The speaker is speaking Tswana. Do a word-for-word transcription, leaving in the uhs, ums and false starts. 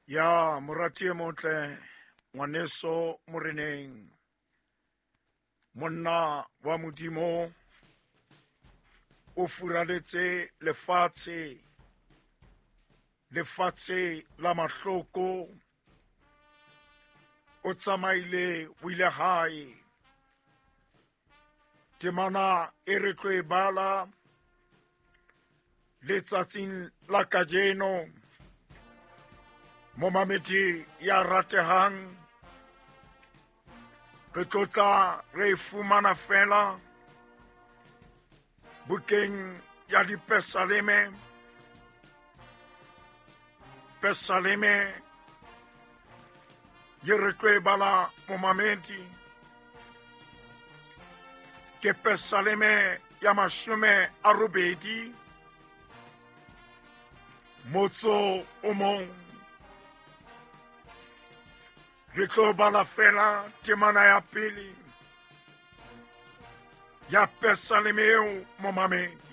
Ya morati e motle, ngwaneso moreneng, monna wa Modimo o furaletse lefatshe, lefatshe la mahloko, o tsamaile o ile hae. Temana e re tlo e bala letsatsing la kajeno, momamedi ya ratehang, re tlotla re e fumana fela bukeng ya Dipesaleme, Pesaleme ye re tlo e bala momamedi, ke Pesaleme ya mashome a robedi, motso o mong. Re tlo bala fela temana ya pele ya Pesaleme eo momamedi.